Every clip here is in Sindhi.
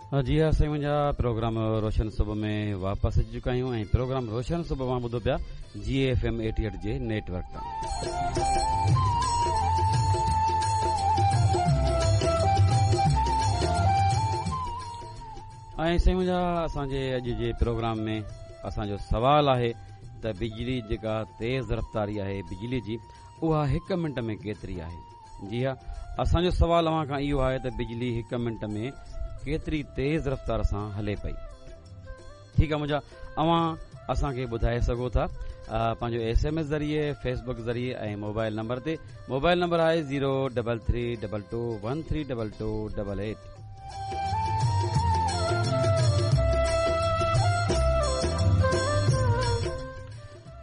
جي ها سائين منهنجا پروگرام روشن صبح ۾ واپس اچي چڪا آهيون ۽ پروگرام روشن صبح اوهان ٻڌو پيا جي ايف ايم 88 جي نيٽ ورڪ تان. ۽ سائين منهنجا اسان جي اڄ جي پروگرام ۾ اسان جو سوال آهي ته بجلي جيڪا تيز رفتاري آهي بجلي جي اها هڪ منٽ ۾ ڪيتري آهي؟ جي ها اسان جو سوال اوهان کان اهو آهي ته بجلي هڪ منٽ ۾ ڪيتري تيز رفتار سان هلي پئي؟ ٺيڪ آهي منهنجا اوهان اسان کي ٻڌائي سگهو ٿا پنهنجو ايس ايم ايس ذريعي فيس بڪ ذريعي ۽ موبائل نمبر تي موبائل نمبر آهي zero double three double two one three double two double eight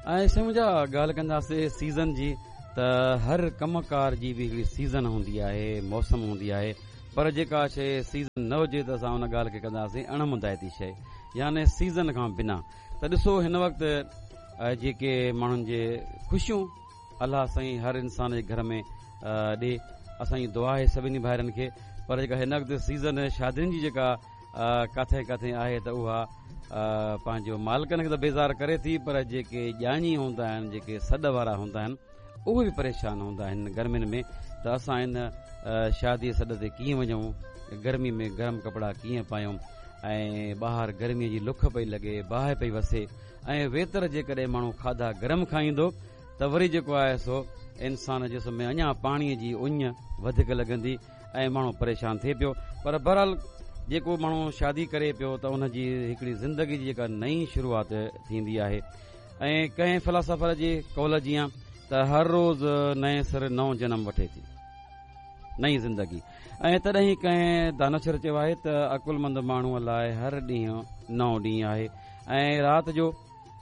۽ سائين منهنجا ڳالهه ڪنداسين سيزن جي ته هر ڪم ڪار جي به هڪڙي سيزن هوندي آهي موسم هوندي آهي پر جيڪا شيء سيزن نه هجي ته اسان ان ڳالهه کي ڪنداسين اڻ مندائتي شيء يعني سيزن کان بنا ته ڏسو هن وقت جيڪي ماڻهن جي خوشيون الله سائين هر انسان جي گهر ۾ ڏي اسان جي دعا آهي سڀني ڀائرن کي پر جيڪا هن وقت سيزن شادين جي جيڪا ڪاٿي ڪاٿي آهي ته اها پنهنجو مالڪن کي ته بيزار ڪري ٿي پر جيڪي ڄاڃي هوندا آهن جيڪي سڏ وارا هوندا آهن اهي به پريشان هوندا آهن گرمين ۾ ته اسان ان شادي سڏ تي ڪيئن وڃون گرمي ۾ گرم ڪپڙا ڪيئن پايون ۽ ٻاهر گرمي جي لک پئي لڳي باهه پئي وسي ۽ ويتر جيڪڏهن ماڻهو کاڌا گرم کائيندو ته وري جيڪو آهي سو انسان جسم ۾ اڃا پاڻي جي اڃ وڌيڪ لڳندي ۽ ماڻهو پريشان ٿئي پيو پر بهرحال جيڪو ماڻهو شادي ڪري پيو ته ان جي هڪڙي زندگي جي جيڪا نئين شروعات ٿيندي آهي ۽ ڪنهن فلاسافر جي قول جيان ته هر روز نئين سر نئون جنم وٺي ٿي نئين زندگي ۽ تڏهن ڪنهن دانشور چيو آهي ته عقلمند ماڻهوء لاء هر ڏينهن نئون ڏينهن آهي ۽ رات جو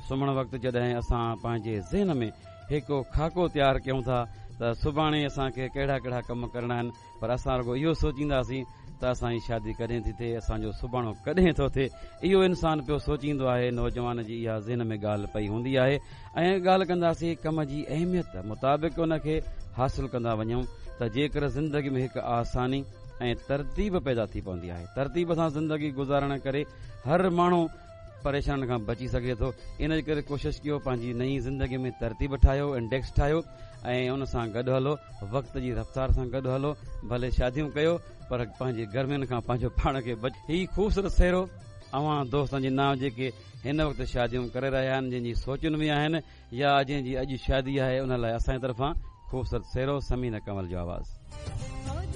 سمهڻ وقت جڏهن اسان پنهنجي ذهن ۾ هڪ خاڪو تيار ڪيون ٿا ته سڀاڻي اسان کي ڪهڙا ڪهڙا ڪم ڪرڻا آهن پر اسان رڳو اهو سوچينداسين ته اسان جي شادي ڪڏهن ٿي ٿئي اسان جو سڀاڻو ڪڏهن ٿو ٿئي اهو انسان پيو سوچيندو آهي نوجوان جي اها ذهن ۾ ڳالهه پئي هوندي آهي ۽ ڳالهه ڪنداسين ڪم جي اهميت مطابق ان کي حاصل ڪندا وڃون ته جيڪر زندگي ۾ هڪ آساني ۽ ترتيب پيدا ٿي پوندي آهي ترتيب سان زندگي گذارڻ ڪري هر ماڻهو پريشانين کان بچي سگهي ٿو ان جي ڪري ڪوشش ڪيو پنهنجي نئين زندگي ۾ ترتيب ٺاهيو انڊيڪس ٺاهيو ۽ ان سان گڏ هلو وقت جي رفتار سان گڏ هلو ڀلي شاديون ڪيو پر پنهنجي گرمين کان پنهنجو پاڻ کي بچ هي خوبصورت سهرو اوهان دوستن جي نانء جيڪي هن وقت شاديون ڪري رهيا آهن جن جي سوچن ۾ آهن يا جنهن جي اڄ شادي آهي ان لاء اسان جي طرفان خوبصورت سهرو ثمينه ڪنول جو آواز.